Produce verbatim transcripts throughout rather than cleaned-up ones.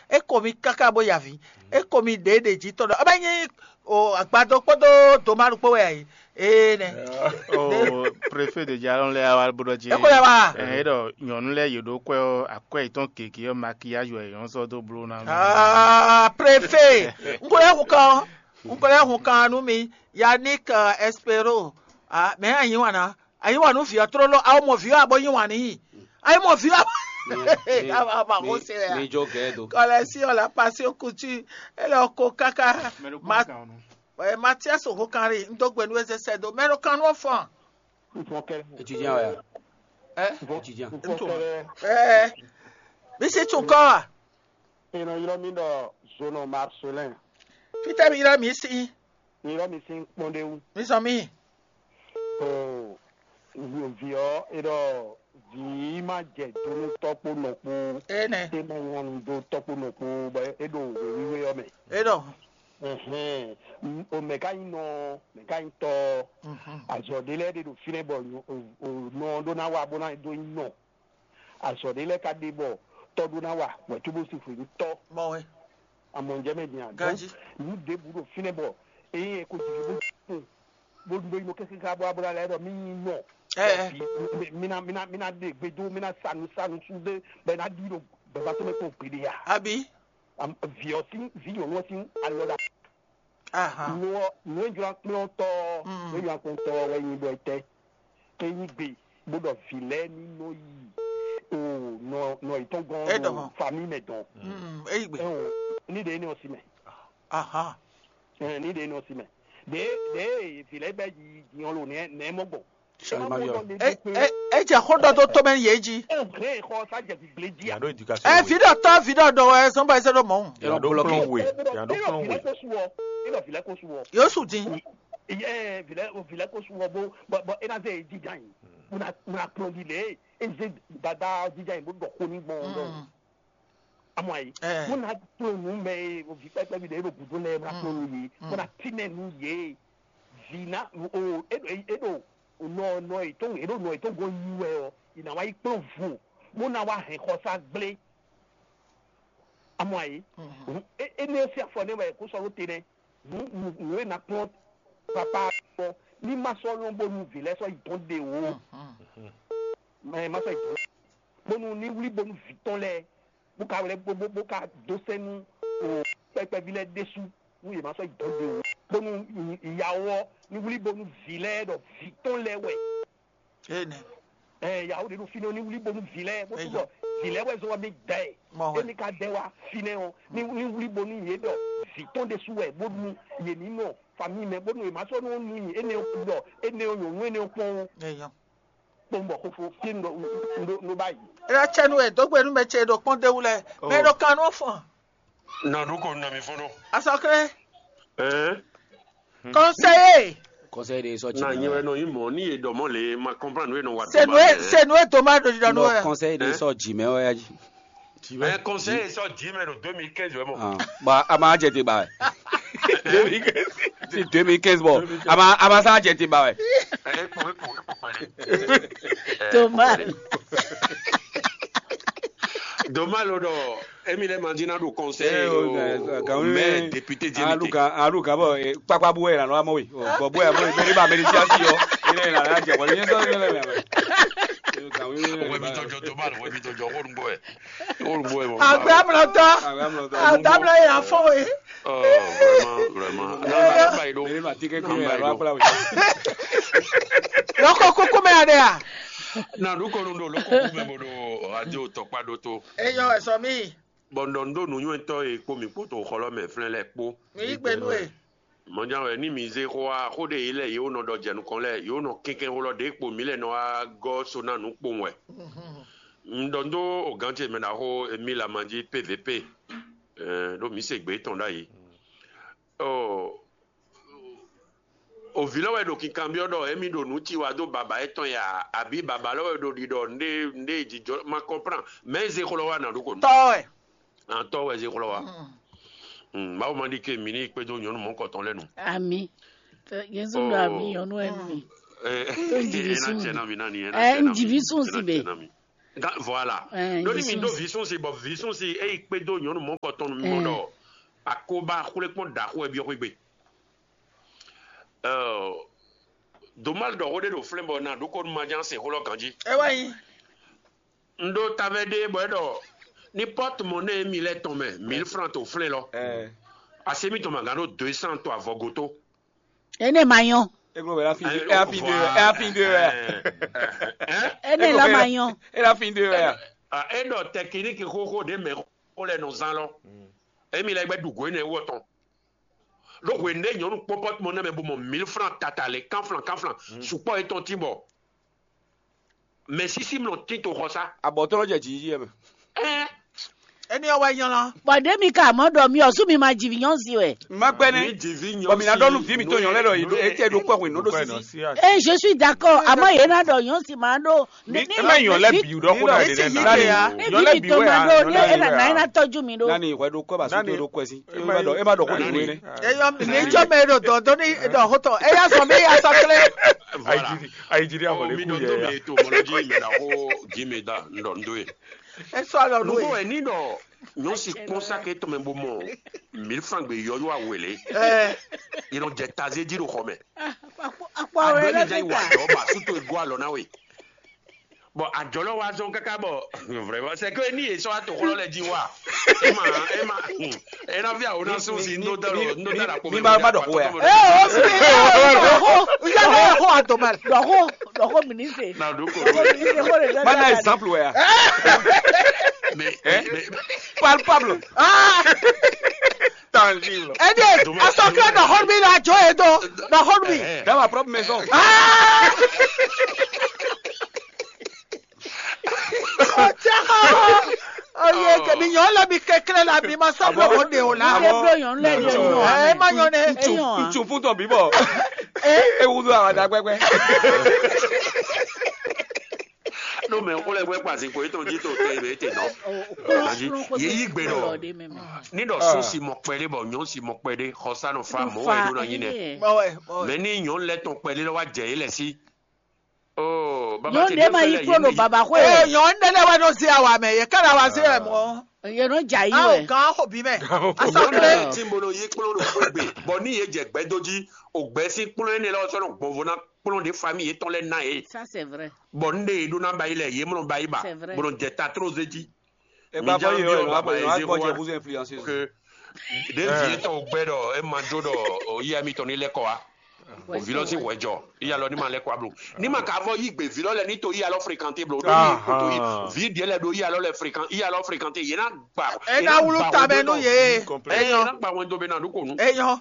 É ko mi káká bó yi avǐ. É ko mi ɖě ɖě jí tɔn ɖɔ ɔ́ bɛ nyí o agbadó kpódó dománu kpó wɛ ǎ é. Ee nɛ. O préfet de jalɔn lɛ wa bó ɖɔ jí. É ko lɛ wa. Ɛ é ɖɔ nyɔ̌nu lɛ́ɛ yě ɖó kwɛ ɔ́, akwɛ́ yětɔn gěgé ɔ́, makiyáj wɛ yě nɔ́ sɔ́ dó bló ná. Ah, préfet, n ko lɛ hun kan, n ko lɛ hun kan nú mi, Yannick, euh, Espero. Ah, mɛ anyi wana. Ayi wà nú vǐ ɔ́ tlóló, awo mɔ vǐ ɔ́ abo yí wǎn n'i. Ayi mɔ vǐ ɔ́ abo. Ama ko se wɛ. Mi jó gɛ́ do. Kɔlɛsi ɔ́ la pasi okutu. Ele ɔ́ ko káká. Matias Ohokanri, n dó gbe nú eze sɛ do mɛ ɖo kan nú ɔ́ fɔn. Étudiant wɛ ya. Ɛ. Étudiant. Ɛ. Bisi tún kɔ wa. È nɔ ylɔ́ mì ɖɔ Zonɔ Marcelin. Fítɛ́ mi ylɔ́ mi sí. Mi ylɔ́ mì sín kpɔ́n ɖé wú. Mi zɔn mi. Oo, vǐ ɔ́, è ɖɔ vǐ ma jɛ do nú tɔ́ kpó nɔ kpó. Énɛ́. É ma nya nu dó tɔ́ kpó nɔ kpó bɔ é ɖo wěwíwé ɔ́ mɛ. É ɖɔ. Ɛhɛn, o mɛ ka nyí nɔ, mɛ ka nyí tɔ. Azɔ ɖé lɛ́ɛ ɖe ɖo fínɛ́ bɔ nɔ ɔ́ ɖó ná wá bó ná dó nyí nɔ. Azɔ ɖé lɛ́ɛ ka ɖe bɔ tɔ ɖó ná wa wɛ cóbó si xwě nú tɔ. Mɔ wɛ. Amɔ njɛ mɛ din a. Ganji. Nǔ ɖěbǔ ɖo fínɛ́ bɔ eye ko jiji bó kun bó ɖó yino kɛkɛkɛ bó abó lɛ ɖɔ mí nyi nɔ. Ɛ, ɛ. Mina mina mina ɖe gbedo mina sanu sanu su ɖe bɛ na ɖi ɖo bɛba tɔmɛ kpɔn gbeɖe ya. Abi. Viɔ sin vi nyɔnu sin alɔ ɖa. Aha. Nua nua jɔ akplɔn tɔ Mm. nua jɔ akplɔn tɔ wɛ nyi bɔ etɛ ke nyi gbe bó ɖɔ vi lɛ ní nɔ yi o nɔ nɔ itɔn Edɔn. gɔn fami mɛ dɔn. Mm, eyi gbe. Ɛn o ní ɖe ní ɔsi mɛ. Aha. Ɛn ní ɖe ní ɔsi mɛ. Ɖe ɖe vi lɛ bɛ yi diɲɔ lo nɛ nɛ mɔ gbɔn. Changement de E e e jɛ xó dɔ tó tó mɛ yé ji. Ɛn xɔ sa jɛ gbigble di a. Yàrá éducation. E vi dɔ tɔ vi dɔ dɔ wɛ sɔn ba ɛsɛ dɔ mɔ. Yàrá dó kplɔn wè. Yàrá dó kplɔn Vilɛ wè. Ko su wɔ. Ina vilɛ ko su wɔ. Yóò sùn dín. Ɛɛ vilɛ vilɛ ko su wɔ bo bɔ bɔ ina se jija yi. Muna muna kplɔn di le. Eze dada jija yi bo dɔ ko ni gbɔn dɔ. Mm, Amɔ ayi. Eh. Muna kplɔn nu mɛ ye o vi pɛpɛ bi de e do gudo lɛ muna kplɔn nu ye. Muna tinɛ nu ye. Vina o e do e do nɔ nɔ etɔn e do nɔ etɔn gɔn yi wɛ ɔ. Ina wa yi kplɔn vo. Muna wa hɛn xɔsa gblé. Amɔ ayi. mm, E e ne si afɔ ne wɛ ko sɔ lo te nɛ. Nǔ nǔ e na kplɔn papa kpɔ ní ma sɔ lɔn bónú vǐ lɛ́ɛ sɔ́ yi dɔn ɖe o. Mɛ ma sɔ́ yi dɔn bónú ní wlí bónú vǐ tɔn lɛ́ɛ bó ka wlɛ́ bó bó bó ka dó sɛ́ nú o kpɛkpɛví lɛ́ɛ ɖésú nú yě ma sɔ́ yi dɔn ɖe o. Bónú ìyàwó ɔ́ ní wlí bónú vǐ lɛ́ɛ ɖɔ vǐ tɔn lɛ́ɛ wɛ. Ene. Ɛ yàwó ɖe ɖo fínɛ́ ní wlí bónú vǐ lɛ́ɛ bó tún bɔ vǐ lɛ́ɛ wɛ zɔn wá mí dɛ. Mɔ wɛ. Émi ka dɛ wá fínɛ́ ɔ́ ní ní wlí bónú yě ɖɔ vǐ tɔn ɖésú wɛ bónú yě ní nɔ famille mɛ bónú yě ma sɔ́ nú nu nyi énɛ́ ɔ́ ɖɔ énɛ́ ɔ́ nyɔ̌nu énɛ́ ɔ́ kpɔ́n ó. Eyan. Kpɔ́n bɔ xófó fí un ɖo un ɖo un ɖo báyìí. Era tsɛ nu e dogbe nu mɛ ce ɖo kpɔn de wu lɛ. Mɛ ɖo kan nu fɔn. Na ɖo ko na mi fɔlɔ. Asɔkle. Ɛɛ. Conseiller. Conseil de sɔ Na nyi jimɛ wɛ nɔ yi mɔ ni ye dɔ mɔ le ma comprendre ye nɔ wa. C'est nous, c'est nous et Thomas de Dano. Non, conseil de sɔ jimɛ wɛ ya ji. Mais conseil sɔ dix mais le deux mille quinze vraiment. Ah, ba a ma jɛ te ba wɛ. Si deux mille quinze bɔ a ma a ma sa jɛ te ba wɛ. Eh, pour pour pour parler. Thomas. Dommage lo dɔ Emile Mandina do conseil Eh, oh, au eh, quand maire même. député Alu Diémité. ka alu ka bɔ kpakpa bu wɛ la nɔ amɔ wi bɔ bu wɛ amɔ wi bɛ ne ba mɛ ni ti asi yɔ ne la la jɛ wɔ ne sɔ ne la mɛ. Wɛ mi tɔjɔ Dommage wɛ mi tɔjɔ wɔ nugbo wɛ. Wɔ nugbo wɛ mɔ. Agbamlɔ tɔ. Agbamlɔ yɛ afɔ ye. Oh vraiment vraiment. Non non ba yi do. Ne ma ti kɛ An kuyɛ ba yi la do. kpla wi. Lɔkɔ koko mɛ ya de ya. Na ɖo kɔnu ɖo loko kume bo ɖo radio tɔkpa ɖo to. Eyɔ ɛsɔ mi. Bɔn ɖɔ ndo nunywɛtɔ e kpo mi kpoto xɔlɔ mɛ flɛn lɛ kpo. Mi yi gbe nu e. Mɔdjan wɛ ni mi ze xɔ a xo ɖe yi lɛ yewo nɔ ɖɔ jɛ nukɔn lɛ yewo nɔ kɛnkɛn xo lɔ ɖe kpo mi lɛ nɔ wa gɔ so na nu kpowun wɛ. N ɖɔ ndo o gantse mɛ na xo mi la manji P V P. Ɛɛ ɖo mi se gbe tɔn ɖa yi. Ɔ o vi lɔ wɛ ɖo kinkanbiɔ ɖɔ emi ɖo nu ci wa do baba etɔn ya abi baba lɔ wɛ ɖo ɖi ɖɔ nde nde jijɔ ma comprend mais ze xlɔ wa na ɖo ko nu. Tɔ wɛ. An tɔ wɛ ze xlɔ wa. Mawu ma ɖi ke mi ni kpedo nyɔnu mɔ kɔtɔn lɛ nu. Ami. Yesu ɖo ami nyɔnu ɛ mi. Eh, Tó ń jìbì ena sùn. Tsɛ na mi nani ena Eh, tsɛ na ń jìbì mi. Sùn sí Ena be. Tsɛ na mi. Voilà. Ɖó ní mi ɖó vǐ súnsi bɔ vǐ súnsi é yi kpé dó nyɔ̌nu mɔ̌kɔtɔn nú mi mɔ ɖɔ akóbá xwlékpɔ́n ɖaxó wɛ byɔ́ xwé gbe. Domal ɖɔ xó ɖé ɖo flɛ́n bɔ na ɖokó ma ján se xó lɔ ganjí. É wá nyí. Un ɖó tavɛ ɖé bɔ é ɖɔ ní pɔ́tumɔnɛ́ mi lɛ́ɛ tɔn mɛ mil fran to flɛ́n lɔ. Asé mitɔn ma gán ɖó deux cent to avɔgoto. Énɛ́ ma nyɔ́. Églo wɛ la fin de, é la fin de, é la fin de wɛ. Énɛ́ lɔ ma nyɔ́. É la fin de wɛ. É ɖɔ tɛkiniki xóxó ɖé mɛ xó lɛ nɔ zán lɔ. Émi lɛ gbɛ ɖu gǒ énɛ́ wú ɔtɔn. Ɖó hwenu ɖé nyɔ̌nu kpɔ́n pɔ́tumɔnɛ́ mɛ bó mɔ mil fran tata lě kánflan kánflan sukpɔ́ yětɔn tín bɔ mɛ sísí mlɔ tín to xɔsá. Abɔ̌tɔ́ jɛ jǐ yɛ mɛ. Ɛn Éní ɔ́ wɛ nylá. Bɔ ɖě mi ka mɔ ɖɔ mi ɔ́ sú mi ma ji vǐ nyɔ́ si wɛ. Má gbɛ́ nɛ́. Mi ji vǐ nyɔ́ Bɔ mi ná ɖɔ nú vǐ mitɔn nyɔ̌ lɛ́ ɖɔ yě ɖo- é tɛ ɖo kpɔ́ hwenu ɖó sisi. Ée je suis d'accord, àmọ́ yě ná ɖɔ nyɔ́ si máa ɖó. Ɛ má nyɔ̌ lɛ́ bǐ ɖɔ xó ná ɖe lɛ́ ná. Nyɔ̌ lɛ́ bǐ wɛ máa ǎ, ɖó nyɔ̌ lɛ́ bǐ nà wɛ é ná ǎ. Tɔ́jú mi ɖó. Nani ìwé ɖo kọ́ bá sókè ɖo kọ́ ẹ sí. É má ɖɔ é má ɖɔ xó ɖě wé nɛ́. Eyɔ mi ní tsɔ mɛ ɖo dɔn dɔn ní ɖɔ xó tɔ. Eya sɔ mi ya sɔ klé. Voilà. Ayidjiri amɔ Oh, lé mi kú ɖɔ yɛ tó ya. mi to mɔlɔ jí mi ɖa xó jí mi da ŋɖɔ ŋɖɔ ye. Esɔ alɔ nu Nugo ye. Ɛ ní ɖɔ nyɔ́ si kpɔ́n sáké tɔn mɛ bó mɔ mil fran gbe yɔyɔ awele. Ɛ Yɛ nɔ jɛ tazé jí ɖo xɔ mɛ. Akpɔ Agbɛ rẹ mi jẹ́ ìwà lẹ́gbẹ̀ta. àjọ bá sútó ego alɔ náà wè. Bɔn àjọ lɔ wa zɔn káká bɔ vraiment c'est que ní yé sɔ ato xɔlɔ lɛ jí wa. Ema ema ena fi awo na sún si ndó dá lɔ ndó dá la kpɔmɛ. Ní bá bá dɔ̀kú wẹ̀. Ɛ o si ɛ o ya ne ko ato mɛ. Ɖɔxo ɖɔxo mi ní se. Na ɖo ko. Ɖɔxo mi ní se xó lè fẹ́ Bá ná fẹ́ exemple wẹ̀ ya. Mais Hein? mais Palpable. Ah, Tangible. ɛdi asɔkɛ na hɔn mi na jɔ ye do na hɔn mi. Dans ma propre maison. Ah, o tɛ ha. Oye kɛmi nyɔ lɛ mi kɛkɛrɛ la mi ma sa lɔ ko de o la. Ẹ blo yàn lẹ yẹ yàn. Ɛ ma nyɔ ne. Eyàn. Ntsu fún tɔn bíbọ̀. Ewúrú àwọn àdá pẹ́pẹ́. No mɛ ko lɛ gbɛ kpasi ko etɔn ji to te be te nɔ. Aji ye yi gbe nɔ. Ni dɔ so si mɔ kpɛde bɔ nyɔ si mɔ kpɛde xɔsa nɔ fa mɔ wɛ do na nyi nɛ. Bɔwɛ bɔwɛ. Mɛ ni nyɔ lɛ tɔn kpɛde lɔ wa jɛ yi lɛ si. Oh, baba Nyɔnu te ɖe ma yi kplo ɖo baba xwe. Ee nyɔ ne lɛ wɛ nɔ zi awa mɛ ye kɛ na wa zi wɛ mɔ. Yɛ nɔ dza yi Awo wɛ. gan xo bi mɛ. Nyɔ Asɔkle. ne ti bo nɔ yi kplɔn ɖo xwegbe bɔ ni ye jɛ gbɛdo ji ogbɛ si kplɔn ene lɔ sɔ nɔ gbɔnvo na kplɔn de famille yetɔn lɛ na ye. Ça c'est vrai. Bɔ n de ye ɖo na ba yi lɛ ye mlɔ ba yi ba C'est vrai. bo nɔ jɛ ta tro ze ji. Ẹ bá Níjà fọyín bí ọ̀rọ̀ ọ̀rọ̀ wá pẹ̀lú àbáyé wá ṣe gbọ́dọ̀ wá. Kúzú influenceuse. Que ɖevi etɔn gbɛ ɖɔ e ma jo ɖɔ o yi ami tɔn ni lɛ kɔ wa. O vi lɔ si wɛ jɔ iya lɔ ni ma lɛ kɔ wa blo ni ma ka vɔ yi gbe vi lɔ lɛ ni to iya lɔ fréquenté blo ɖo ni ko to yi vi diɛ lɛ ɖo iya lɔ lɛ fréquent iya lɔ fréquenté yena gba. Ena wulu tamɛ nu ye. Eye na gba wɛn do be na ɖo ko nu. Eyɔ.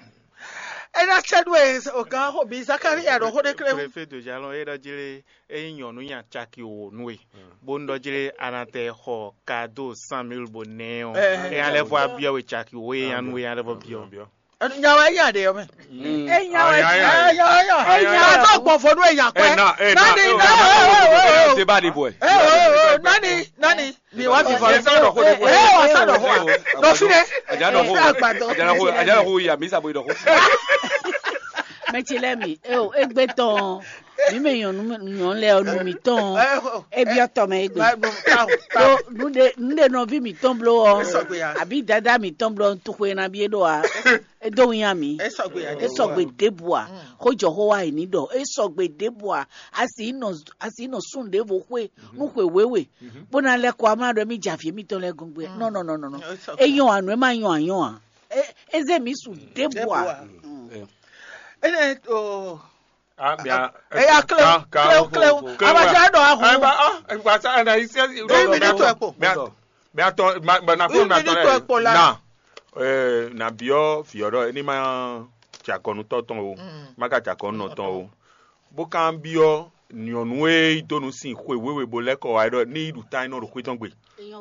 Ena sɛdu ye o gan xo bi Zakaria ɖo xo ɖe kle. Préfet de jalon e ɖɔ jlé eyi nyɔnu nya caki wo nu e bó ń ɖɔ jlé anatɛ xɔ kado cent mille bó nɛ ɔ Eh. eya lɛ fɔ abiɔ we caki wo eya nu eya lɛ fɔ biɔ. Enu nya wa eya de yɔ mɛ. Enya wɛ. Eyɔ eyɔ. Eyɔ. Atɔ gbɔfɔ nu eya kɔɛ. Ena ena Nani nani. Débat de boy. Nani nani. Mi wa fi fɔ. Esa dɔ ko de boy. Ee wa sa dɔ fɔ. Dɔ fi dɛ. Ajá dɔ ko. Fi agbadɔ. Ajá dɔ ko. Ajá dɔ ko ya mi sa boy dɔ ko. Mɛ tsi lɛ mi. Eo egbe tɔn. Mi mɛ nyɔnu nyɔnu lɛ ɔ nu mi tɔn. Ebiɔ tɔ mɛ egbe. Ba ba. Ɖo nu ɖe nu ɖe nɔvi mi tɔn blo ɔ. Esɔgbe ya. Abi dada mi tɔn blo ɔ ntu xwe na bi e ɖo a. Edo ŋu ya mi. Esɔgbe ya. Esɔgbe ɖebu a. Xojɔ xo wa yi ni ɖɔ. Esɔgbe ɖebu a. Asi nɔ asi nɔ sun ɖevo xwe. Nu xwe wewe. Bona lɛ kɔ ama ɖɔ mi dza fi mi tɔn lɛ gɔngbe. Nɔ nɔ nɔ nɔ nɔ. Eyɔn a nɔ ema yɔn a yɔn a. E- Eze mi su ɖebu a. Ene o. Ah bien. Eya klewu klewu klewu. Abadza dɔ ahu. Eba ah eba sa na isi. Deux minutes ɛ kpo. Bia bia tɔ ma na ko Une ma tɔ minute ɛ kpo la. Na. Eh na biɔ fiɔ ɖɔ ni ma jakɔnu tɔ tɔn o. Ma ka jakɔnu nɔ tɔn o. Bó kan biɔ nyɔnu e yi donu sin xwe wewe bo lɛ kɔ wa ɖɔ ni yi ɖu tan nɔ ɖo xwe tɔn gbe.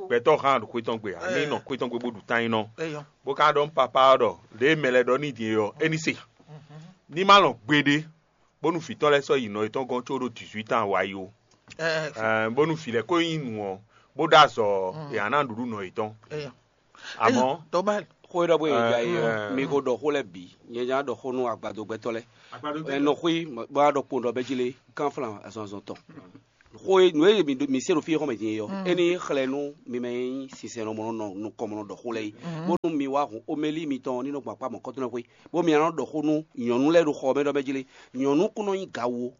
Gbɛtɔ han ɖo xwe tɔn gbe. Ani nɔ xwe tɔn gbe bo ɖu tan nɔ. Eyɔ. Bó kan ɖɔ papa ɖɔ ɖe mɛ lɛ ɖɔ ni din yɔ eni se. Ni ma lɔn gbeɖe. Bónú vǐ tɔn lɛ́ɛ sɔ́ yi nɔ yětɔn gɔ́n có ɖó dix-huit ans wá yi ó. Ɛɛ, bónú vǐ lɛ́ɛ ko nyí nǔ ɔ́, bó ɖó azɔ̌ ɔ́, è nǎ ná nǔɖuɖu nɔ yětɔn. Amɔ̌, Tɔmɛl. Xó e ɖɔ bó e ja é ɔ́, mi ko ɖɔ xó lɛ́ɛ bǐ. Nyɛ nya ɖɔ xó nú agbadogbɛtɔ́ lɛ́ɛ. Ɛ nɔ xwí bó wá ɖɔ kpowun ɖɔ bɛ́ jí lé kánflán azɔn azɔn tɔn. Xó e nǔ e mi ɖo- mi se ɖo fí e xɔmɛ din e ɔ́, é ní xlɛ́ nú mi mɛ e nyí sinsɛnnɔ mɔ nɔ nukɔn mɔ nɔ ɖɔ xó lɛ́ɛ é, bónú mi wá hun omeli mitɔn ní nɔ gbɔn akpá mɔ̌kɔntɔn xwé, bó mi nɔ ɖɔ xó nú nyɔ̌nu lɛ́ɛ ɖo xɔ mɛ ɖɔ mɛ jí lé. Nyɔ̌nu kún nɔ nyí gawo.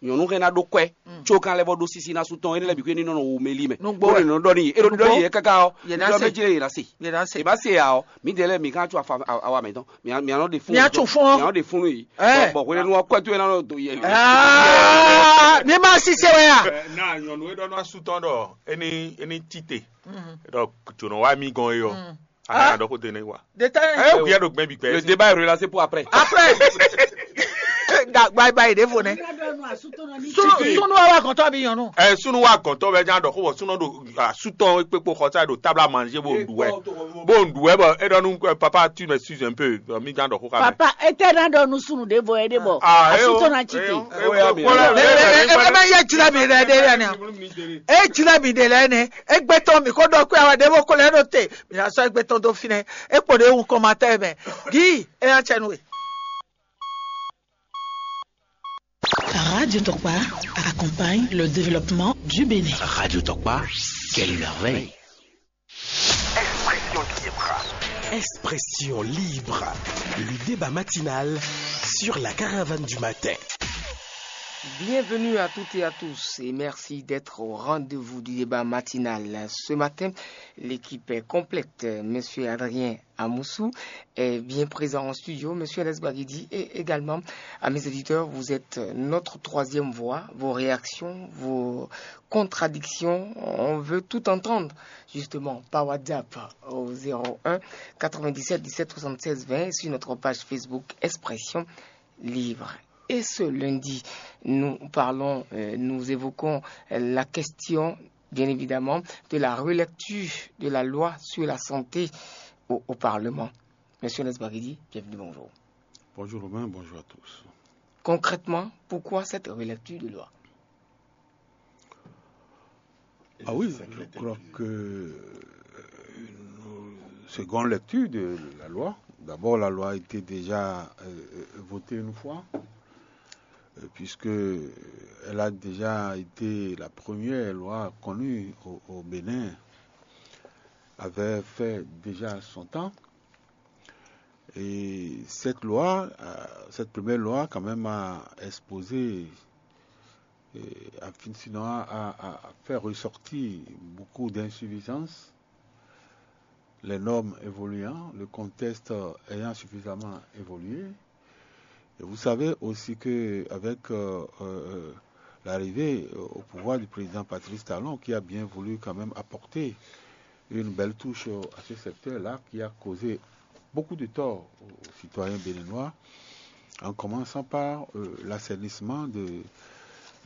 Nyɔ̌nu hɛn ná ɖó kwɛ́, có kan lɛ́ vɔ ɖó sísí ná sú tɔn, énɛ́ lɛ́ɛ bǐ xwé ní nɔ nɔ omeli mɛ. Nǔgbó Bónú wɛ. È nɔ ɖɔ n'i é ɖo ɖɔ Nǔgbó. N'i é káká ɔ́, Yě ná ɖɔ se. Mɛ jí lé yě ná se. Yě ná se. È bá se ǎ ɔ́, mǐdɛɛ lɛ́ɛ mǐ ká có awa mǐtɔn. Mǐ ná ɖe fún. Mǐ ná có fún ɔ́. Mǐ ná ɖe fún nú yě. Ɛ. Bɔ hwenɛ́nu ɔ́, kwɛ́ towe ná nɔ do yɛ. Ah, mi ma si se wɛ ya. Ɛ, na nyɔnu e ɖɔ nɔ asú tɔn ɖɔ é ní é ní tite ɖɔ jǒnɔ wá mí gɔn é ɔ́, a ka ɖɔ xó de nɛ wa. Deta. Ɛ, ó kúyɛ ɖo gbɛn bi gbɛ. Le débat est relancé pour après. Après. Ga gba ba yi ɖe vo nɛ. Sunu sunu wa wa kɔntɔ bi yɔnu. Ɛ, sunu wa gɔntɔ bɛ jan ɖɔ xó bɔ sunu ɖo asútɔ kpekpo xɔsa ɖo table à manger bó ń ɖu wɛ. Bó ń ɖu wɛ bɔ é ɖɔ nú papa tu me suis un peu, mi jan ɖɔ xó xa mɛ. Papa, ete na ɖɔ nú sunu ɖe vɔ ede bɔ. Ah, eh, asutɔ na tsi te. Eh, eh, eh, eh, eh, eh, eh, eh, eh, jila mi ɖe ɖe ya nɛ. E jila mi ɖe lɛ nɛ. Egbe tɔn mi ko ɖɔ kpe awa ɖe bo ko lɛ ɖo te. Mi na sɔ egbe tɔn do fi nɛ. E kpo ɖe wu kɔmatɛ mɛ. Gi e ya tsɛ nu e. Radio Tokpa accompagne le développement du Bénin. Radio Tokpa, quelle merveille. Expression libre. Expression libre. Le débat matinal sur la caravane du matin. Bienvenue à toutes et à tous et merci d'être au rendez-vous du débat matinal. Ce matin, l'équipe est complète. Monsieur Adrien Amoussou est bien présent en studio. Monsieur Alex Bagidi et également à mes éditeurs, vous êtes notre troisième voix. Vos réactions, vos contradictions, on veut tout entendre justement par WhatsApp au zéro un quatre-vingt-dix-sept dix-sept soixante-seize vingt sur notre page Facebook Expression Libre. Et ce lundi, nous parlons, euh, nous évoquons, euh, la question, bien évidemment, de la relecture de la loi sur la santé au, au Parlement. Monsieur Nesbagidi, bienvenue, bonjour. Bonjour Romain, bonjour à tous. Concrètement, pourquoi cette relecture de loi ? Ah oui, je crois que, euh, nous- seconde lecture de la loi. D'abord, la loi a été déjà euh, euh, votée une fois, euh, puisque elle a déjà été la première loi connue au, au Bénin, avait fait déjà son temps. Et cette loi, euh, cette première loi, quand même, a exposé, euh, a fin- sinon a, a- a fait ressortir beaucoup d'insuffisances. Les normes évoluant, le contexte ayant suffisamment évolué. Et vous savez aussi que avec euh, euh, l'arrivée au pouvoir du président Patrice Talon, qui a bien voulu quand même apporter une belle touche à ce secteur-là, qui a causé beaucoup de tort aux citoyens béninois, en commençant par euh, l'assainissement de,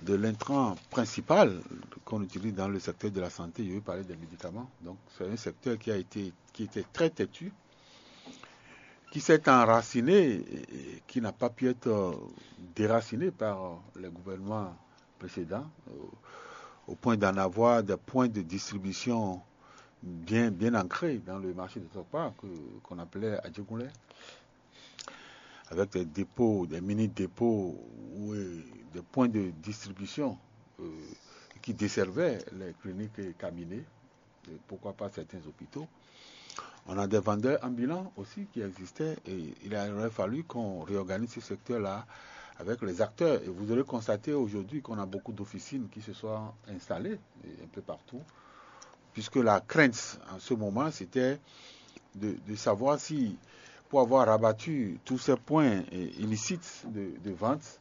de l'intrant principal qu'on utilise dans le secteur de la santé. Je veux parler des médicaments. Donc, c'est un secteur qui a été, qui était très têtu, qui s'est enraciné et qui n'a pas pu être euh, déraciné par euh, les gouvernements précédents, euh, au point d'en avoir des points de distribution bien, bien ancrés dans le marché de Tokpa que- qu'on appelait Adjegoulé, avec des dépôts, des mini-dépôts ou euh, des points de distribution euh, qui desservaient les cliniques et cabinets, et pourquoi pas certains hôpitaux. On a des vendeurs ambulants aussi qui existaient et il aurait fallu qu'on réorganise ce secteur-là avec les acteurs. Et vous aurez constaté aujourd'hui qu'on a beaucoup d'officines qui se sont installées un peu partout, puisque la crainte en ce moment, c'était de, de savoir si, pour avoir rabattu tous ces points euh, illicites de, de vente,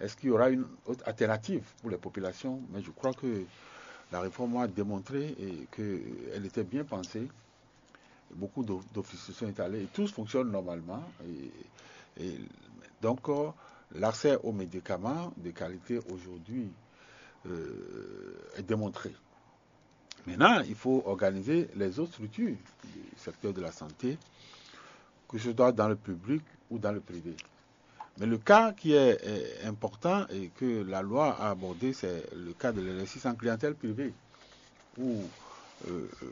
est-ce qu'il y aura une autre alternative pour les populations ? Mais je crois que la réforme a démontré et qu'elle était bien pensée. Beaucoup d'o- d'offices se sont étalés et tous fonctionnent normalement. Et, et donc, euh, l'accès aux médicaments de qualité aujourd'hui euh, est démontré. Maintenant, il faut organiser les autres structures du secteur de la santé, que ce soit dans le public ou dans le privé. Mais le cas qui est euh, important et que la loi a abordé, c'est le cas de l'exercice en clientèle privée, où euh, euh,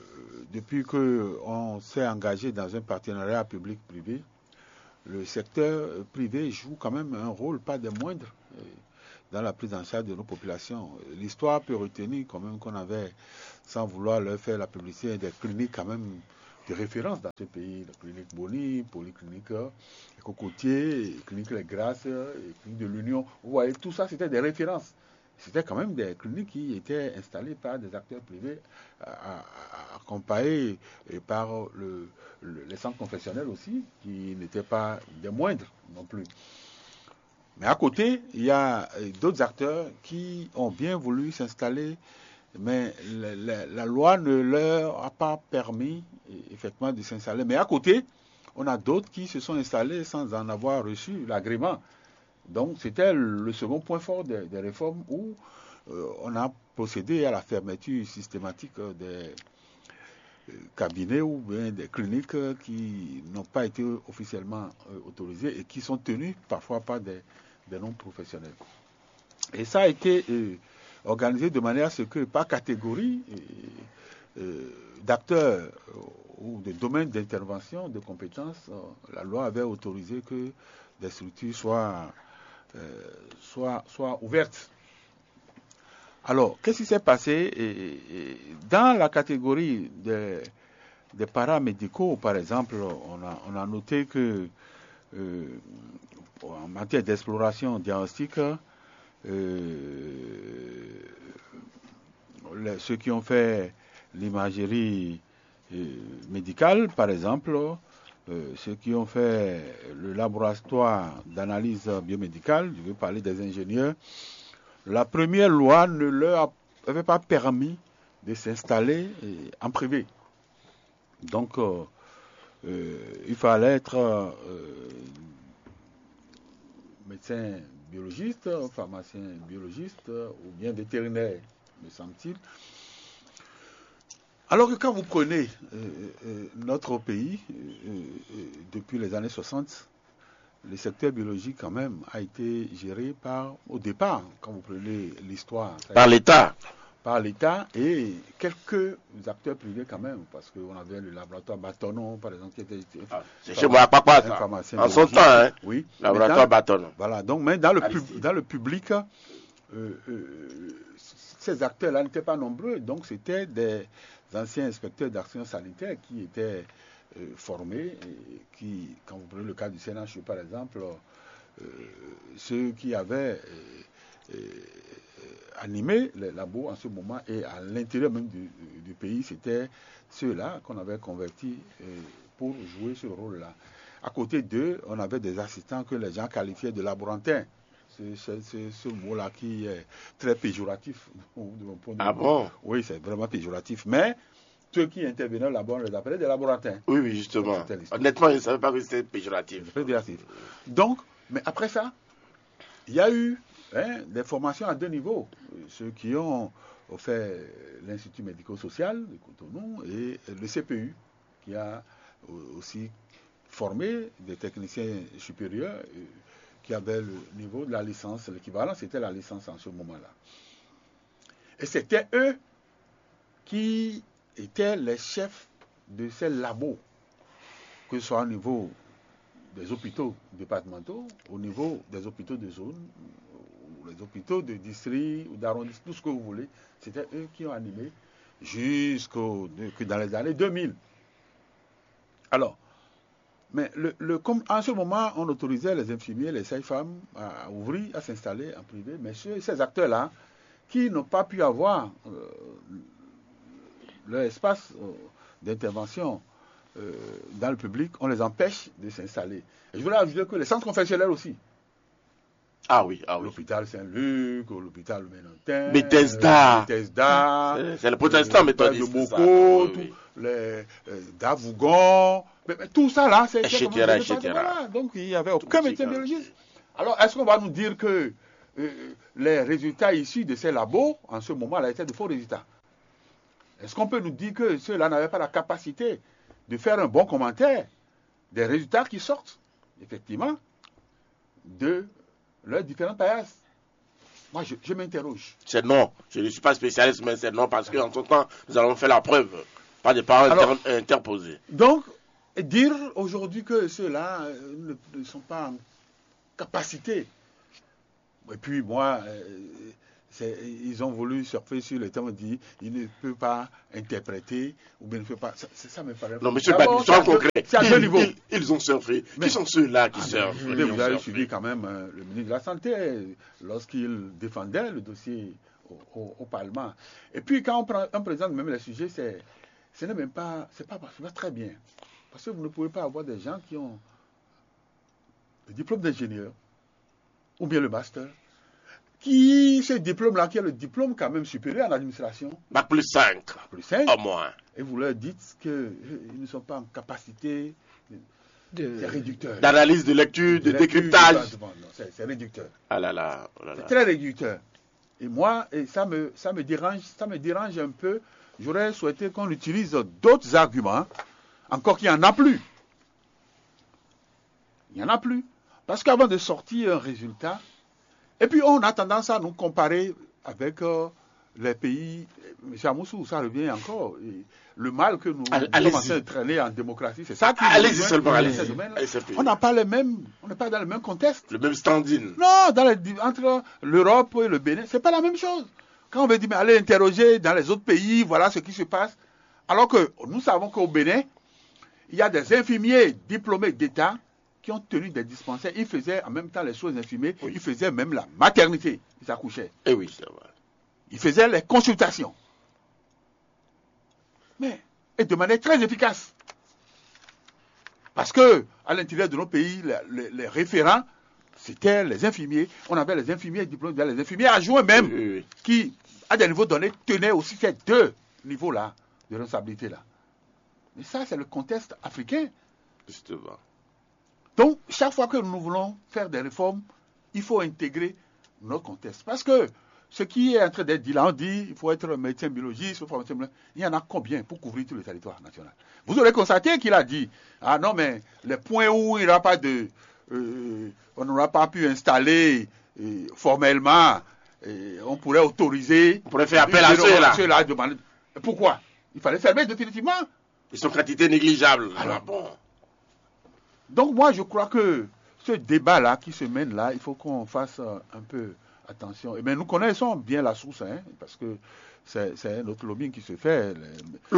depuis qu'on s'est engagé dans un partenariat public-privé, le secteur euh, privé joue quand même un rôle pas des moindres, euh, dans la prise en charge de nos populations. L'histoire peut retenir quand même qu'on avait, sans vouloir leur faire la publicité, des cliniques quand même de référence dans ce pays. La clinique Boni, polyclinique euh, Cocotier, clinique Les Grâces, euh, clinique de l'Union. Vous voyez, tout ça, c'était des références. C'était quand même des cliniques qui étaient installées par des acteurs privés, euh, accompagnés par le, le, les centres confessionnels aussi, qui n'étaient pas des moindres non plus. Mais à côté, il y a euh, d'autres acteurs qui ont bien voulu s'installer, mais la, la, la loi ne leur a pas permis, euh, effectivement, de s'installer. Mais à côté, on a d'autres qui se sont installés sans en avoir reçu l'agrément. Donc, c'était le second point fort des, des réformes où euh, on a procédé à la fermeture systématique des euh, cabinets ou bien des cliniques euh, qui n'ont pas été officiellement euh, autorisées et qui sont tenues parfois par des, des non-professionnels. Et ça a été euh, organisé de manière à ce que par catégorie euh, euh, d'acteurs euh, ou de domaines d'intervention, de compétences, euh, la loi avait autorisé que des structures soient, euh, soient, soient ouvertes. Alors, qu'est-ce qui s'est passé ? Et, et, dans la catégorie des, des paramédicaux, par exemple, on a, on a noté que euh, en matière d'exploration diagnostique, euh, les- ceux qui ont fait l'imagerie euh, médicale, par exemple, euh, ceux qui ont fait le laboratoire d'analyse biomédicale, je veux parler des ingénieurs, la première loi ne leur avait pas permis de s'installer euh, en privé. Donc, euh, euh, il fallait être euh, médecin biologiste, pharmacien biologiste ou bien vétérinaire, me semble-t-il. Alors que quand vous prenez euh, euh, notre pays, euh, euh, depuis les années soixante, le secteur biologique quand même a été géré par, au départ, quand vous prenez l'histoire, ça a Par été- l'État. par l'État et quelques acteurs privés quand même, parce qu'on avait le laboratoire Bâtonnon, par exemple, qui était C'est chez moi à Papa, un ça. pharmacien En son biologiste. temps, hein. Oui. Laboratoire Maintenant- Bâtonnon. Voilà, donc, mais dans le, pub- Aristide. Dans le public, euh, euh, ces acteurs-là n'étaient pas nombreux, donc c'était des anciens inspecteurs d'action sanitaire qui étaient euh, formés, et qui, quand vous prenez le cas du C N H U par exemple, euh, ceux qui avaient euh, euh, animé les labos en ce moment et à l'intérieur même du, du pays, c'était ceux-là qu'on avait convertis euh, pour jouer ce rôle-là. À côté d'eux, on avait des assistants que les gens qualifiaient de laborantins. C'est c'est- c'est ce mot-là qui est très péjoratif de mon point de Ah vue. Bon ? Oui, c'est vraiment péjoratif. Mais ceux qui intervenaient là-bas, on les appelait des laborantins. Oui, oui, justement. C'était l'histoire. Honnêtement, je ne savais pas que c'était péjoratif. Péjoratif. Donc, mais après ça, il y a eu hein, des formations à deux niveaux. Ceux qui ont fait l'Institut médico-social de Cotonou et le C P U, qui a aussi formé des techniciens supérieurs euh, qui avaient le niveau de la licence. L'équivalent, c'était la licence en ce moment-là. Et c'était eux qui étaient les chefs de ces labos, que ce soit au niveau des hôpitaux départementaux, au niveau des hôpitaux de zone, ou les hôpitaux de district ou d'arrondissement, tout ce que vous voulez. C'était eux qui ont animé jusqu'au que dans les années deux mille. Alors, mais le, le- comme en ce moment, on autorisait les infirmiers, les sages-femmes à, à ouvrir, à s'installer en privé, mais ceux- ces acteurs-là qui n'ont pas pu avoir euh, leur espace euh, d'intervention euh, dans le public, on les empêche de s'installer. Et je voulais ajouter que les centres confessionnels aussi, Ah oui, ah oui. L'hôpital Saint-Luc, l'hôpital Ménantin, Bethesda. euh, Bethesda, C'est- c'est les protestants euh, l'hôpital de de Bethesda, Boko, oui, tout, oui. Les euh, Davougon, mais, mais tout ça là, c'est c'est Etc., comment, je n'ai pas etc.. Voilà, donc il y avait Tout aucun petit médecin cas. Biologiste. Alors est-ce qu'on va nous dire que euh, les résultats issus de ces labos en ce moment-là étaient de faux résultats ? Est-ce qu'on peut nous dire que ceux-là n'avaient pas la capacité de faire un bon commentaire des résultats qui sortent, effectivement, de leurs différentes paillasses ? Moi, je, je m'interroge. C'est non. Je ne suis pas spécialiste, mais c'est non parce qu'en son temps, nous allons faire la preuve par des paroles Alors- inter- interposées. Donc, et dire aujourd'hui que ceux-là euh, ne, ne sont pas en capacité Et puis, moi, euh, c'est- ils ont voulu surfer sur le thème, dit il ne peut pas interpréter ou bien ne peut pas. Ça, c'est- ça me paraît. Non, monsieur D'abord, Badi, soyons c'est à deux- concrets. C'est à deux Ils, niveaux. ils- ils ont surfé. Mais- Qui sont ceux-là qui Ah, surfent mais qui vous ont avez surfé suivi quand même euh, le ministre de la Santé euh, lorsqu'il défendait le dossier au, au- au Parlement. Et puis, quand on prend- on présente même les sujets, c'est, ce n'est même pas, c'est pas, c'est pas très bien. Parce que vous ne pouvez pas avoir des gens qui ont le diplôme d'ingénieur ou bien le master, qui, ce diplôme-là, qui est le diplôme quand même supérieur en administration, Bac plus cinq, plus cinq, au moins. Et vous leur dites qu'ils ne sont pas en capacité de... C'est réducteur. D'analyse de lecture, de Lecture, décryptage. Non, non, c'est c'est réducteur. Ah là là, oh là C'est là. Très réducteur. Et moi, et ça me, ça me dérange, ça me dérange un peu. J'aurais souhaité qu'on utilise d'autres arguments, encore qu'il n'y en a plus. Il n'y en a plus. Parce qu'avant de sortir un résultat, et puis on a tendance à nous comparer avec euh, les pays. M. Amoussou, ça revient encore. Et le mal que nous, Allez- nous sommes en allez-y. train de traîner en démocratie, c'est ça qui Allez-y nous joint seulement, dans allez-y. ce domaine-là. Allez-y, c'est On n'a pas les mêmes, on n'est pas dans le même contexte. Le même standing. Non, dans les- entre l'Europe et le Bénin, c'est pas la même chose. Quand on veut dire, mais allez interroger dans les autres pays, voilà ce qui se passe. Alors que nous savons qu'au Bénin, il y a des infirmiers diplômés d'État qui ont tenu des dispensaires. Ils faisaient en même temps les soins infirmiers, ils faisaient même la maternité. Ils accouchaient. Eh oui, c'est vrai. Ils faisaient les consultations. Mais, et de manière très efficace. Parce que, à l'intérieur de nos pays, les, les- les référents, c'était les infirmiers. On avait les infirmiers diplômés, les infirmiers adjoints même, Oui, oui, oui. Qui, à des niveaux donnés, tenaient aussi ces deux niveaux-là de responsabilité-là. Mais ça, c'est le contexte africain. Justement. Donc, chaque fois que nous voulons faire des réformes, il faut intégrer notre contexte. Parce que ce qui est en train d'être dit là, on dit il faut être médecin biologiste, il faut être pharmacien biologiste. Il y en a combien pour couvrir tout le territoire national? Vous aurez constaté qu'il a dit, ah non, mais les points où il n'y aura pas de... euh, on n'aura pas pu installer euh, formellement, euh, on pourrait autoriser... On pourrait faire appel à ceux-là. Ceux-là à demander. Pourquoi? Il fallait fermer définitivement. Ils sont quantité négligeable. Alors. Ah bon. Donc moi, je crois que ce débat-là qui se mène là, il faut qu'on fasse euh, un peu attention. Et bien, nous connaissons bien la source, hein, parce que c'est c'est un autre lobbying qui se fait. Les-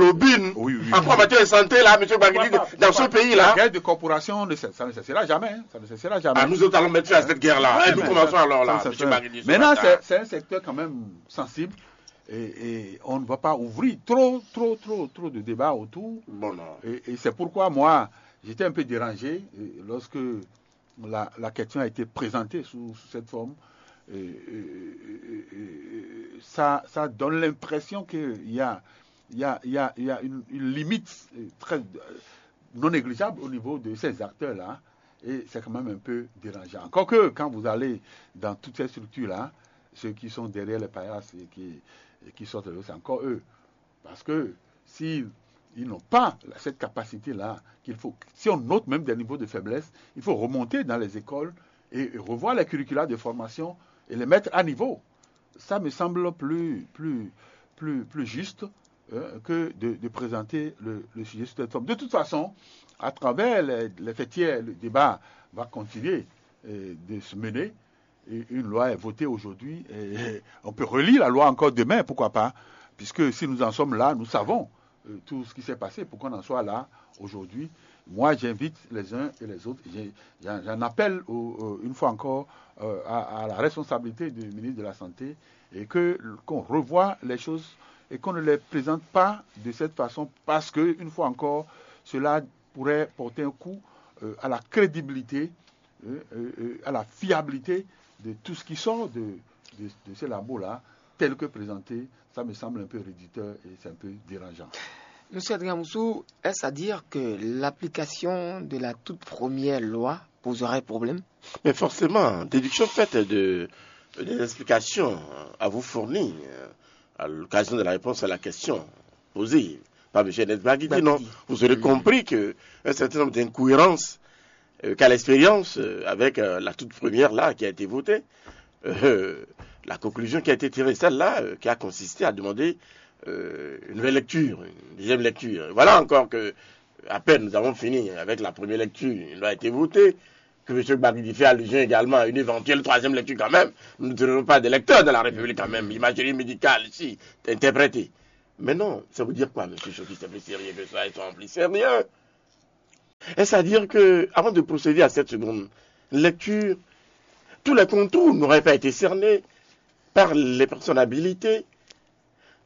Lobbying. Oui, oui, oui. Encore en matière de santé, là, monsieur Baguidi, Pourquoi pas, dans pourquoi ce pas. pays-là. La guerre de corporation, ne cesse- ça ne cessera jamais. Hein, ça ne cessera jamais. Ah, nous autres allons mettre fin à cette guerre-là. Ouais, Et nous mais commençons ça- alors là, ça, ça, monsieur ça- Baguidi. ce Maintenant, matin. c'est c'est un secteur quand même sensible et, et on ne va pas ouvrir trop, trop, trop, trop de débats autour. Bon, non. Et, et c'est pourquoi moi, j'étais un peu dérangé euh, lorsque la, la question a été présentée sous, sous cette forme. Et, et- et- et- et ça, ça donne l'impression qu'il y a, il y a, il y a, il y a une, une limite euh, très euh, non négligeable au niveau de ces acteurs-là. Et c'est quand même un peu dérangeant. Encore que quand vous allez dans toutes ces structures-là, ceux qui sont derrière les paillasses et qui, et qui sortent, c'est encore eux. Parce que si ils n'ont pas cette capacité-là, qu'il faut, si on note même des niveaux de faiblesse, il faut remonter dans les écoles et, et revoir les curricula de formation et les mettre à niveau. Ça me semble plus, plus, plus, plus juste euh, que de, de présenter le, le sujet sous cette forme. De toute façon, à travers les, les fêtières, le débat va continuer euh, de se mener. Et une loi est votée aujourd'hui. Et on peut relire la loi encore demain, pourquoi pas? Puisque si nous en sommes là, nous savons euh, tout ce qui s'est passé pour qu'on en soit là aujourd'hui. Moi, j'invite les uns et les autres, j'ai- j'en j'en appelle au- au- une fois encore euh, à, à la responsabilité du ministre de la Santé et que qu'on revoie les choses et qu'on ne les présente pas de cette façon parce que, une fois encore, cela pourrait porter un coup euh, à la crédibilité, euh, euh, euh, à la fiabilité de tout ce qui sort de, de, de ces labos-là, tel que présenté. Ça me semble un peu réducteur et c'est un peu dérangeant. Monsieur Adrien Moussou, est-ce à dire que l'application de la toute première loi poserait problème? Mais forcément, déduction faite de, des explications à vous fournir euh, à l'occasion de la réponse à la question posée par M. Ernest Baguidi, non, vous aurez compris que un certain nombre d'incohérences euh, qu'a l'expérience euh, avec euh, la toute première là qui a été votée. Euh, la conclusion qui a été tirée, celle-là, euh, qui a consisté à demander euh, une nouvelle lecture, une deuxième lecture. Voilà encore que, à peine nous avons fini avec la première lecture, une loi a été votée. que M. Gbagidi fait allusion également à une éventuelle troisième lecture quand même. Nous ne tenons pas des lecteurs dans la République quand même. L'imagerie médicale ici, t'es interprété. Mais non, ça veut dire quoi, M. Choki, c'est plus sérieux que ça, ils sont plus sérieux. Est-ce à dire que, avant de procéder à cette seconde lecture, tous les contours n'auraient pas été cernés par les personnes habilitées?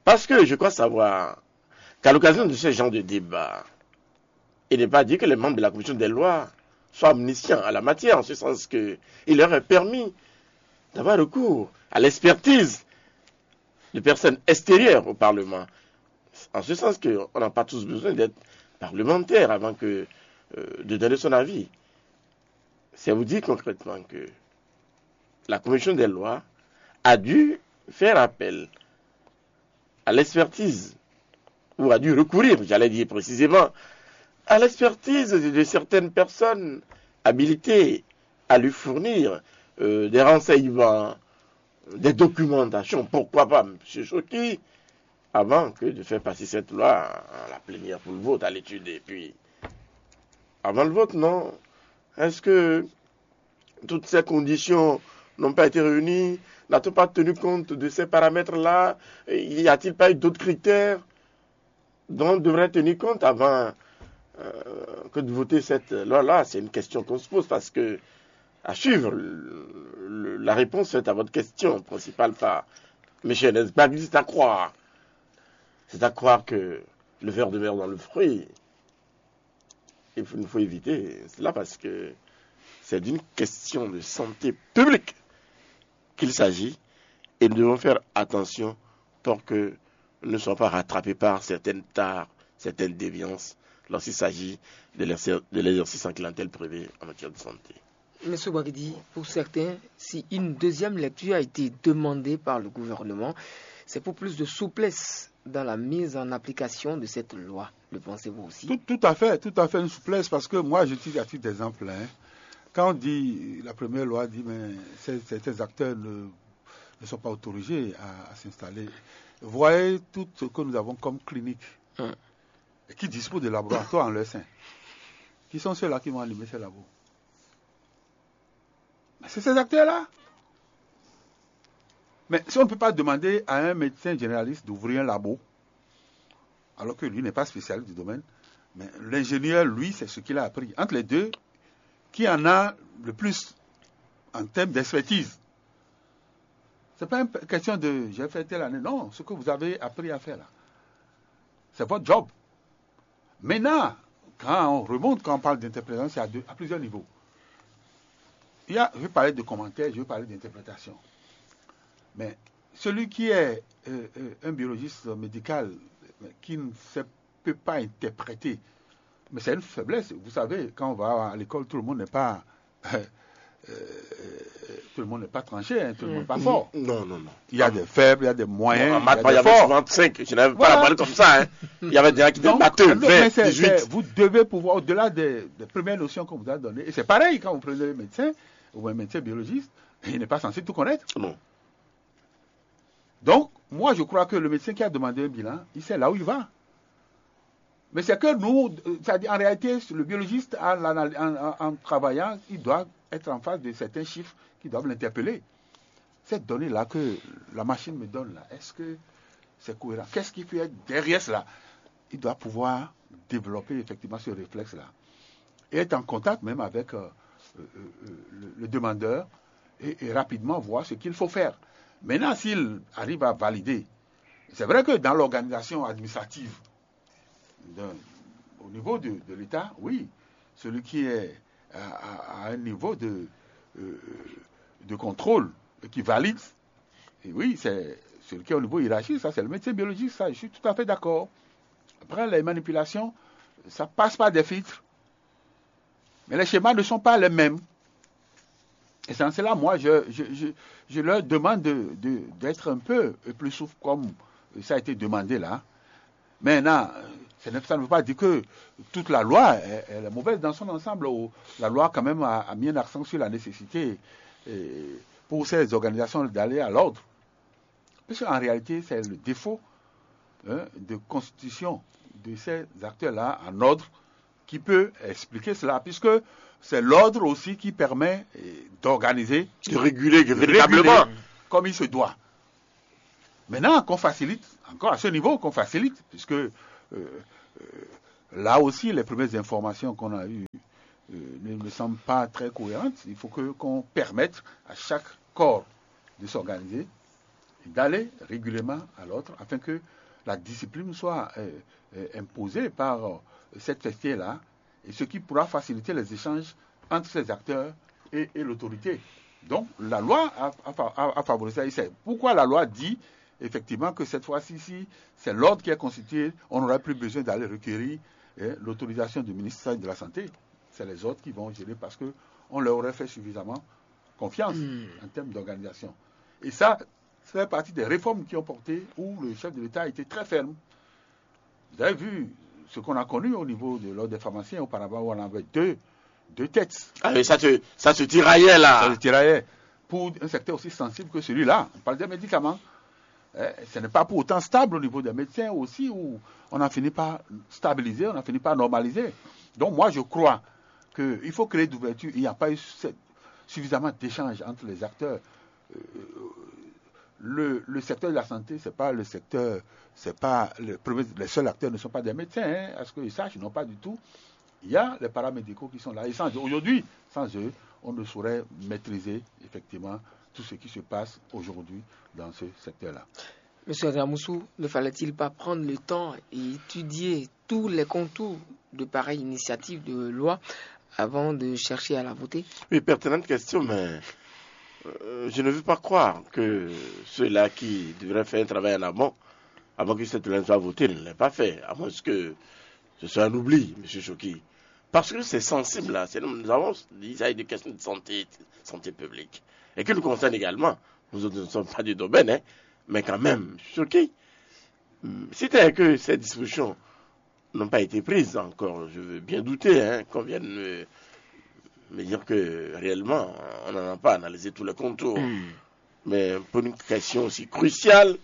Parce que je crois savoir qu'à l'occasion de ce genre de débat, il n'est pas dit que les membres de la commission des lois soient omniscients à la matière, en ce sens qu'il leur est permis d'avoir recours à l'expertise de personnes extérieures au Parlement. En ce sens qu'on n'a pas tous besoin d'être parlementaire avant que euh, de donner son avis. C'est vous dire concrètement que la commission des lois a dû faire appel à l'expertise, ou a dû recourir, j'allais dire précisément, à l'expertise de certaines personnes habilitées à lui fournir euh, des renseignements, des documentations, pourquoi pas, M. Choki, avant que de faire passer cette loi à la plénière pour le vote, à l'étude, et puis avant le vote, non? Est-ce que toutes ces conditions n'ont pas été réunies? N'a-t-on pas tenu compte de ces paramètres-là? Y a-t-il pas eu d'autres critères dont on devrait tenir compte avant euh, que de voter cette loi-là? C'est une question qu'on se pose parce que, à suivre, le- le- la réponse faite à votre question principale par M. Nesbagli, c'est à croire. C'est à croire que le ver de mer dans le fruit, il faut, il faut éviter cela parce que c'est d'une question de santé publique qu'il s'agit et nous devons faire attention pour que nous ne soyons pas rattrapés par certaines tares, certaines déviances lorsqu'il s'agit de l'exer- de l'exercice en clientèle privée en matière de santé. Monsieur Bagidi, pour certains, si une deuxième lecture a été demandée par le gouvernement, c'est pour plus de souplesse dans la mise en application de cette loi. Le pensez-vous aussi? Tout, tout à fait, tout à fait une souplesse, parce que moi, je dis à titre d'exemple, hein, quand on dit, la première loi dit, mais ces- certains acteurs ne, ne sont pas autorisés à, à s'installer. Voyez tout ce que nous avons comme clinique, Hum. et qui disposent de laboratoires en leur sein. Qui sont ceux-là qui vont animer ces labos? C'est ces acteurs-là. Mais si on ne peut pas demander à un médecin généraliste d'ouvrir un labo, alors que lui n'est pas spécialiste du domaine, mais l'ingénieur, lui, c'est ce qu'il a appris. Entre les deux, qui en a le plus en termes d'expertise? C'est pas une question de j'ai fait telle année. Non, ce que vous avez appris à faire là, c'est votre job. Maintenant, quand on remonte, quand on parle d'interprétation, c'est à, deux- à plusieurs niveaux. Il y a, je vais parler de commentaires, je vais parler d'interprétation. Mais celui qui est euh, euh, un biologiste médical, mais qui ne sait- peut pas interpréter, mais c'est une faiblesse. Vous savez, quand on va à l'école, tout le monde n'est pas, euh, tout le monde n'est pas tranché, hein, tout le monde n'est pas fort. Non, non, non. Il y a des faibles, il y a des moyens, En maths, il y il y a des avait forts. Souvent cinq. Je n'avais pas Voilà. La balle comme ça. Hein. Il y avait des gens qui étaient Donc, batteux, non, mais vingt, c'est- dix-huit. c'est- vous devez pouvoir, au-delà des, des premières notions qu'on vous a données, et c'est pareil quand vous prenez un médecin ou un médecin biologiste, il n'est pas censé tout connaître. Non. Donc, moi, je crois que le médecin qui a demandé un bilan, il sait là où il va. Mais c'est que nous, euh, c'est-à-dire en réalité, le biologiste, en, en- en- en travaillant, il doit être en face de certains chiffres qui doivent l'interpeller. Cette donnée-là que la machine me donne là, est-ce que c'est cohérent? Qu'est-ce qui peut être derrière cela? Il doit pouvoir développer effectivement ce réflexe-là et être en contact même avec euh, euh, euh, le, le demandeur et, et rapidement voir ce qu'il faut faire. Maintenant, s'il arrive à valider, c'est vrai que dans l'organisation administrative, d'un- au niveau de, de l'État, oui, celui qui est à, à- à un niveau de, euh, de contrôle et qui valide, et oui, c'est celui qui est au niveau hiérarchique, ça c'est le médecin biologiste, ça je suis tout à fait d'accord. Après, les manipulations, ça passe par des filtres. Mais les schémas ne sont pas les mêmes. Et c'est en cela, moi, je, je, je, je leur demande de- de- d'être un peu plus souple comme ça a été demandé là. Maintenant, ça ne veut pas dire que toute la loi elle est mauvaise dans son ensemble. La loi, quand même, a, a mis un accent sur la nécessité euh, pour ces organisations d'aller à l'ordre. Parce qu'en réalité, c'est le défaut hein, de constitution de ces acteurs-là en ordre qui peut expliquer cela, puisque c'est l'ordre aussi qui permet euh, d'organiser, de réguler véritablement, comme il se doit. Maintenant, qu'on facilite, encore à ce niveau, qu'on facilite, puisque euh, euh, là aussi, les premières informations qu'on a eues euh, ne me semblent pas très cohérentes. Il faut que qu'on permette à chaque corps de s'organiser, d'aller régulièrement à l'autre, afin que la discipline soit euh, euh, imposée par euh, cette festière-là, et ce qui pourra faciliter les échanges entre ces acteurs et, et l'autorité. Donc, la loi a, a, a, a favorisé ça. Et c'est pourquoi la loi dit effectivement que cette fois-ci, si c'est l'ordre qui est constitué, on n'aurait plus besoin d'aller requérir eh, l'autorisation du ministère de la Santé. C'est les autres qui vont gérer parce qu'on leur aurait fait suffisamment confiance en termes d'organisation. Et ça, ça fait partie des réformes qui ont porté où le chef de l'État a été très ferme. Vous avez vu ce qu'on a connu au niveau de l'ordre des pharmaciens auparavant où on avait deux, deux têtes. Ah, mais ça se, ça se tiraillait là. Ça se tiraillait. Pour un secteur aussi sensible que celui-là, on parle des médicaments. Eh, ce n'est pas pour autant stable au niveau des médecins aussi où on a fini par stabiliser, on a fini par normaliser. Donc moi je crois qu'il faut créer d'ouverture. Il n'y a pas eu suffisamment d'échanges entre les acteurs. Euh, le, le, secteur de la santé, c'est pas le secteur, c'est pas le premier, les seuls acteurs ne sont pas des médecins, hein, à ce que je sache, non pas du tout. Il y a les paramédicaux qui sont là. Et sans aujourd'hui, sans eux, on ne saurait maîtriser effectivement tout ce qui se passe aujourd'hui dans ce secteur-là. Monsieur Adramoussou, ne fallait-il pas prendre le temps et étudier tous les contours de pareille initiative de loi avant de chercher à la voter ? Oui, pertinente question, mais euh, je ne veux pas croire que ceux-là qui devraient faire un travail en amont, avant que cette loi soit votée, ne l'aient pas fait, à moins que ce soit un oubli, Monsieur Choki. Parce que c'est sensible, là. Nous avons dit ça, il y a des questions de santé, santé publique, et qui nous concernent également. Nous autres ne sommes pas du domaine, hein, mais quand même, Choki, si tel est que ces dispositions n'ont pas été prises encore, je veux bien douter, hein, qu'on vienne me, me dire que réellement, on n'en a pas analysé tous les contours. Mm. Mais pour une question aussi cruciale,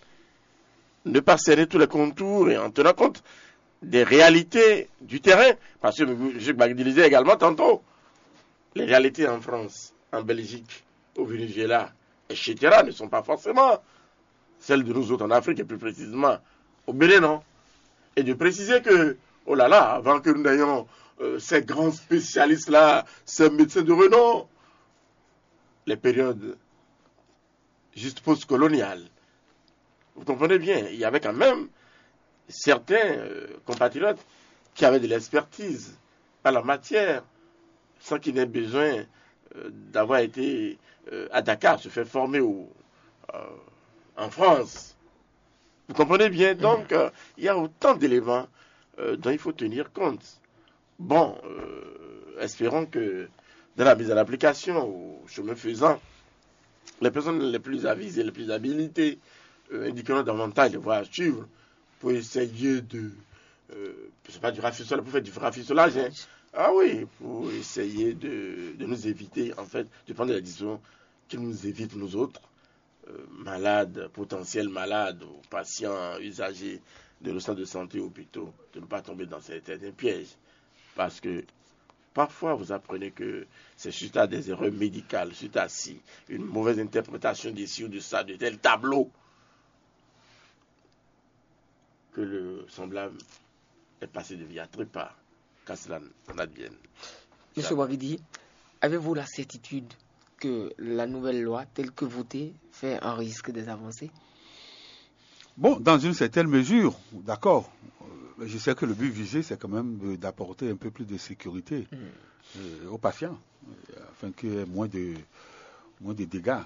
ne pas serrer tous les contours et en tenant compte des réalités du terrain, parce que je disais également tantôt, les réalités en France, en Belgique, au Venezuela, et cetera, ne sont pas forcément celles de nous autres en Afrique, et plus précisément au Bénin, non ? Et de préciser que, oh là là, avant que nous n'ayons euh, ces grands spécialistes-là, ces médecins de renom, les périodes juste post-coloniales, vous comprenez bien, il y avait quand même certains euh, compatriotes qui avaient de l'expertise à la matière, sans qu'il n'ait besoin euh, d'avoir été euh, à Dakar, se faire former au, euh, en France. Vous comprenez bien, donc, euh, il y a autant d'éléments euh, dont il faut tenir compte. Bon, euh, espérons que dans la mise en application, au chemin faisant, les personnes les plus avisées, les plus habilitées euh, indiqueront davantage les voies à suivre pour essayer de. Euh, c'est pas du rafistola pour faire du rafistola, hein. Ah oui, pour essayer de, de nous éviter, en fait, de prendre la décision qui nous évite, nous autres, euh, malades, potentiels malades, ou patients, usagers de nos centres de santé, hôpitaux, de ne pas tomber dans certains pièges. Parce que parfois, vous apprenez que c'est suite à des erreurs médicales, suite à si, une mauvaise interprétation d'ici ou de ça, de tel tableau, que le semblable est passé de via tripa, qu'à cela n'advienne. Monsieur Ouaguidi, avez-vous la certitude que la nouvelle loi telle que votée fait un risque des avancées ? Bon, dans une certaine mesure, d'accord. Euh, je sais que le but visé, c'est quand même d'apporter un peu plus de sécurité euh, aux patients, euh, afin qu'il y ait moins de, moins de dégâts.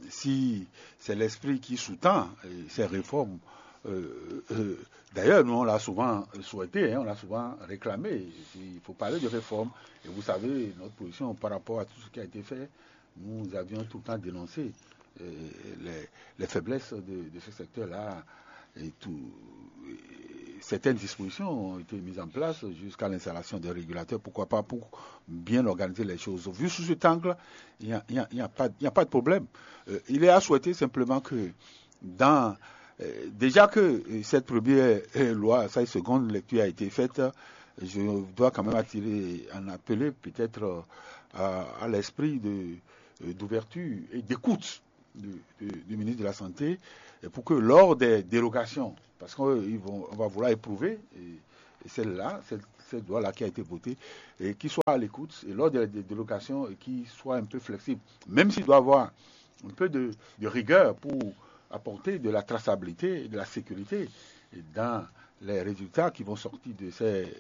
Si c'est l'esprit qui sous-tend ces réformes, euh, euh, d'ailleurs, nous, on l'a souvent souhaité, hein, on l'a souvent réclamé. Il faut parler de réforme. Et vous savez, notre position par rapport à tout ce qui a été fait, nous avions tout le temps dénoncé euh, les, les, faiblesses de, de ce secteur-là et tout. Certaines dispositions ont été mises en place jusqu'à l'installation des régulateurs. Pourquoi pas pour bien organiser les choses. Vu sous cet angle, il n'y a, a, a, a, pas de problème. Euh, il est à souhaiter simplement que dans euh, déjà que euh, cette première euh, loi, cette seconde lecture a été faite, Je dois quand même attirer un appel peut-être euh, à, à l'esprit de, euh, d'ouverture et d'écoute du, du- du ministre de la Santé et pour que lors des dérogations, parce qu'on va vouloir éprouver et, et celle-là, cette, cette loi-là qui a été votée, et qui soit à l'écoute, et lors des, des dérogations, et qui soit un peu flexible, même s'il doit avoir un peu de, de rigueur pour apporter de la traçabilité et de la sécurité dans les résultats qui vont sortir de ces,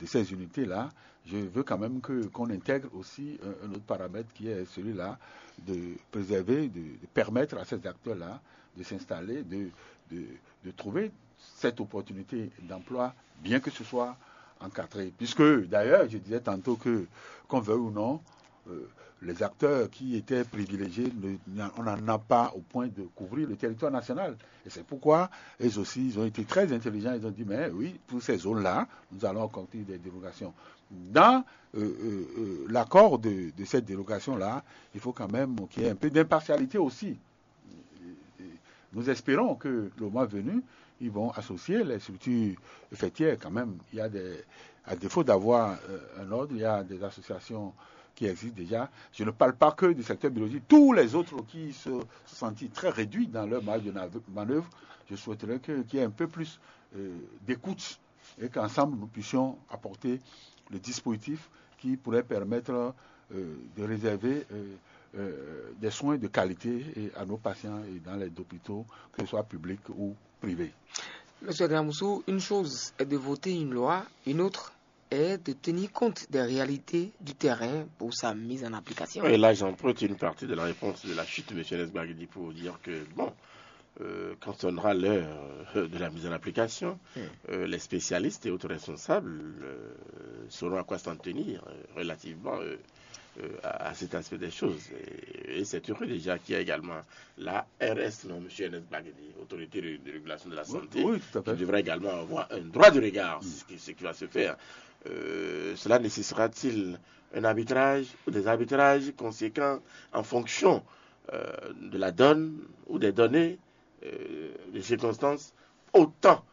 de ces unités-là. Je veux quand même que, qu'on intègre aussi un, un autre paramètre qui est celui-là de préserver, de, de permettre à ces acteurs-là de s'installer, de, de, de trouver cette opportunité d'emploi, bien que ce soit encadré. Puisque d'ailleurs, je disais tantôt que, qu'on veuille ou non, euh, les acteurs qui étaient privilégiés, ne- on n'en a pas au point de couvrir le territoire national. Et c'est pourquoi, eux aussi, ils ont été très intelligents. Ils ont dit, mais oui, pour ces zones-là, nous allons construire des dérogations. Dans euh, euh, euh, l'accord de, de cette dérogation-là, il faut quand même qu'il y ait un peu d'impartialité aussi. Nous espérons que le mois venu, ils vont associer les structures fêtières quand même. Il y a des, à défaut d'avoir euh, un ordre, il y a des associations qui existent déjà. Je ne parle pas que du secteur biologique. Tous les autres qui se, se sentent très réduits dans leur marge de nav- manœuvre, je souhaiterais que- qu'il y ait un peu plus euh, d'écoute et qu'ensemble nous puissions apporter le dispositif qui pourrait permettre euh, de réserver euh, euh, des soins de qualité et à nos patients et dans les hôpitaux, que ce soit publics ou privés. Monsieur Gramoussou, une chose est de voter une loi, une autre est de tenir compte des réalités du terrain pour sa mise en application. Et là, j'emprunte une partie de la réponse de la chute de M. Nesbagdi pour dire que, bon, euh, quand on aura l'heure euh, de la mise en application, euh, les spécialistes et autres responsables euh, sauront à quoi s'en tenir euh, relativement euh, euh, à, à cet aspect des choses. Et, et c'est heureux déjà qu'il y a également la R S, non, M. Nesbagdi, autorité de, de régulation de la santé, Oui, tout à fait. Qui devra également avoir un droit de regard sur ce qui, ce qui va se faire. Euh, cela nécessitera-t-il un arbitrage ou des arbitrages conséquents en fonction euh, de la donne ou des données, euh, des circonstances, autant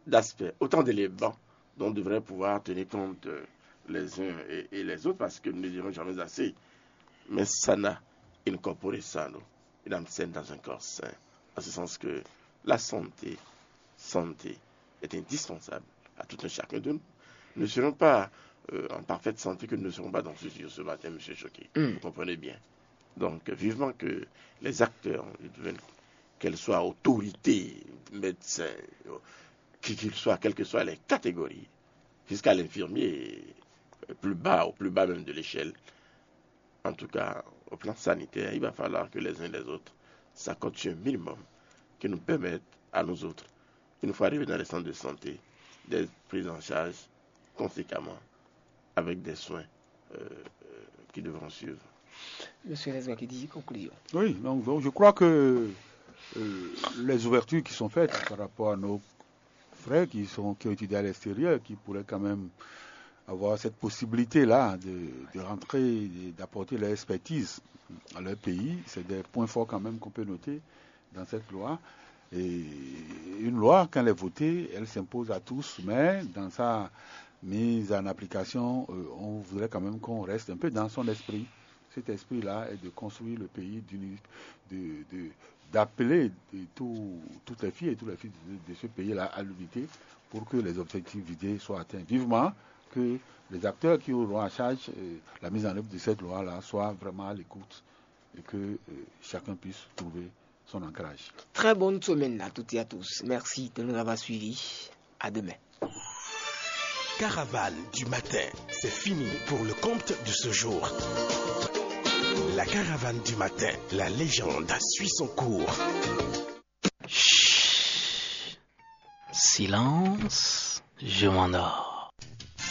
d'aspects, autant d'éléments dont devraient pouvoir tenir compte euh, les uns et, et les autres, parce que nous ne dirons jamais assez. Mais sana in corpore sano, in absent dans un corps sain. En ce sens que la santé, santé est indispensable à tout un chacun de nous. Nous ne serons pas euh, en parfaite santé que nous ne serons pas dans ce studio ce matin, M. Choquet. Vous comprenez bien. Donc, vivement que les acteurs, qu'elles soient autorités, médecins, qui qu'ils soient, quelles que soient les catégories, jusqu'à l'infirmier, plus bas, au plus bas même de l'échelle, en tout cas, au plan sanitaire, il va falloir que les uns et les autres s'accordent sur un minimum qui nous permette à nous autres, une fois arrivés dans les centres de santé, d'être pris en charge conséquemment avec des soins euh, euh, qui devront suivre. Monsieur Nesbagdi, conclusion. Oui, donc, donc je crois que euh, les ouvertures qui sont faites par rapport à nos frères qui, sont, qui ont étudié à l'extérieur, qui pourraient quand même avoir cette possibilité-là de, de rentrer, d'apporter leur expertise à leur pays, c'est des points forts quand même qu'on peut noter dans cette loi. Et une loi, quand elle est votée, elle s'impose à tous, mais dans sa mise en application, euh, on voudrait quand même qu'on reste un peu dans son esprit. Cet esprit-là est de construire le pays, de, de, d'appeler tous, toutes les filles et tous les fils de, de ce pays-là à l'unité pour que les objectifs visés soient atteints. Vivement que les acteurs qui auront en charge euh, la mise en œuvre de cette loi-là soient vraiment à l'écoute et que euh, chacun puisse trouver son ancrage. Très bonne semaine à toutes et à tous. Merci de nous avoir suivis. À demain. Caravane du matin, c'est fini pour le compte de ce jour. La caravane du matin, la légende suit son cours. Chut. Silence, je m'endors.